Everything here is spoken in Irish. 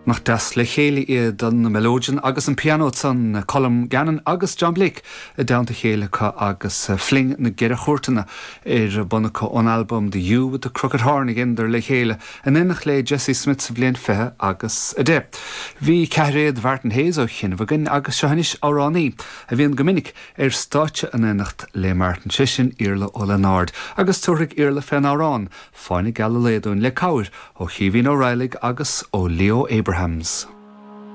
Nach deas le chéile iad an melodeon agus an pianó ansan, Colm Gannon agus John Blake i dteannta a chéile acu agus Fling na gCeithre Chúirteanna ar bun acu ón albam The Ewe with the Crooked Horn a dheineadar le chéile in éineacht le Jesse Smith sa bhliain 20 agus 10. Bhí ceathairéad Mhartin Hayes ó chianaibh againn agus seo anois amhránaí a bhíonn go minic ar stáitse in éineacht le Martin, sé sin Iarla Ó Lionáird agus tabharfaidh Iarla fén amhrán Fáinne Geal an Lae dúinn le cabhair ó Chaoimhín Ó Raghallaigh agus ó Leo Abrahams.